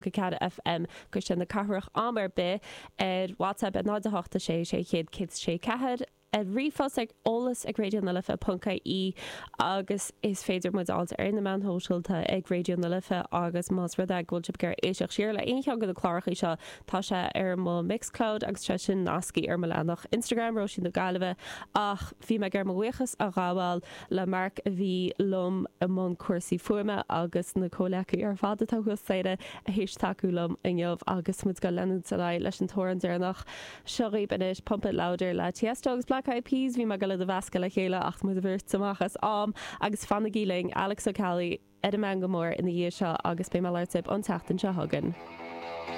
4 FM Cuisle na Cathrach am ar bith, ar WhatsApp ar 0 8 6 600 106 4, ar ríomhphost ag eolas ag raidió na life ponc ie agus is féidir muid a fháilt ar na meáin shóisialta ag Raidió na Life agus más rud é go bhfuil sibh ag iarraidh éisteacht siar le aon cheann de na cláracha seo tá sé ar mo Mixcloud agus tá sé sin nasctha ar mo leathanach Instagram Róisín na Gaillimhe ach bhí mé ag iarraidh mo bhuíochas a ghabháil le Mark a bhí liom i mbun cúrsaí fuaime agus na comhleacaí ar fad atá thuas staighre théis tacú liom inniu agus muid ag leanúint ar aghaidh leis an t-amhrán deireanach. Seo dhaoibh anois Pump It Louder le Tiesto agus Black Eyed Peas. Bhí mé ag dul iad a mheascadh le chéile ach tá muid bheirt amach as am agus fanaigí linn, Alex Ó Ceallaigh ar an meangadh mór ina dhiaidh seo agus beidh mé ag labhairt libh an tseachtain seo chugainn.